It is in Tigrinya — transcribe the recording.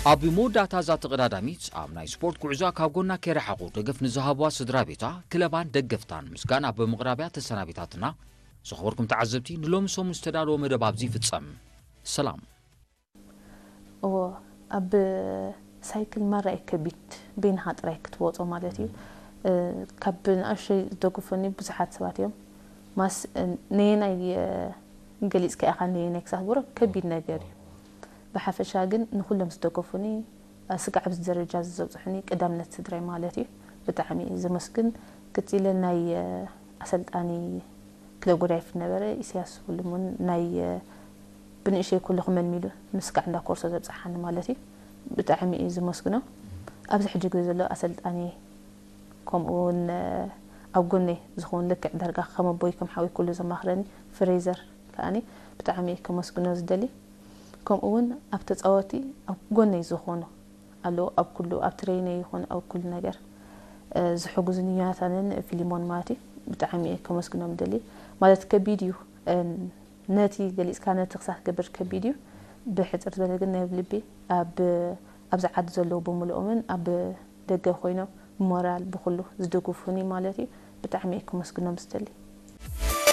ኣብ መወዳእታ እዛ ተቐዳዳሚት ኣብ ናይ ስፖርት ጉዕዞኣ ካብ ጎና ከይረሓቑ ደገፍ ንዝሃብዋ ስድራ ቤታ፣ ክለባን ደገፍታን ምስጋና ብምቕራብያ ተሰናቢታትና። ዝኸበርኩም ተዓዘብቲ፣ ንሎሚ ሰሙን ዝተዳለወ መደብ ኣብዚ ይፍጸም። ሰላም። እዎ፣ ኣብ ሳይክል ማራ እዩ ከቢድ፣ በይንኻ ጥራይ ክትወጾ ማለት እዩ። ካብ ንኣሽቶይ ዝደግፉኒ ብዙሓት ሰባት እዮም። ማስ ነየናይ ገሊጽካ ኢኻ ነየናይ ክሳብ ትብሎ ከቢድ ነገር እዩ። ብሓፈሻ ግን ንኹሎም ዝደገፉኒ፣ ስጋዕ ኣብዚ ደረጃ እዚ ዘብጽሑኒ ቀዳምነት ስድራይ ማለት እዩ። ብጣዕሚ እየ ዘመስግን። ቀጺለ ናይ ኣሰልጣኒ ክለብ ጎዳይፍ ነበረ ኢሳያስ ሁሉሙን ናይ ብንእሸይ ኩሉ ክመልሚሉ ንስጋዕ እንዳ ኮርሶ ዘብጽሓኒ ማለት እዩ። ብጣዕሚ እየ ዝመስግኖ። ኣብዚ ሕጂ ግዜ ዘሎ ኣሰልጣኒ ከምኡ እውን ኣብ ጎነይ ዝኸውን ልክዕ ዳርጋ ከም ኣቦይ ከም ሓወይ ኩሉ ዘማኽረኒ ፍሬዘር ከኣኒ ብጣዕሚ እየ ከመስግኖ ዝደሊ። ከምኡ እውን ኣብ ተጻወቲ ኣብ ጎነይ ዝኾኑ ኣለዉ ኣብ ኩሉ ኣብ ትሬነይ ይኹን ኣብ ኩሉ ነገር ዝሕጉዝኒ ዮናታንን ፊሊሞን ማለት እዩ። ብጣዕሚ እየ ከመስግኖም ደሊ ማለት ከቢድ እዩ። ነቲ ገሊጽካ ነቲ ክሳብ ክገብር ከቢድ እዩ። ብሕጽር ዝበለ ግን ናይ ልቢ ኣብ ኣብዚ ዓዲ ዘለዉ ብምልኦምን ኣብ ደገ ኮይኖም ብሞራል ብኩሉ ዝድግፉኒ ማለት እዩ። ብጣዕሚ እየ ከመስግኖም ዝደሊ።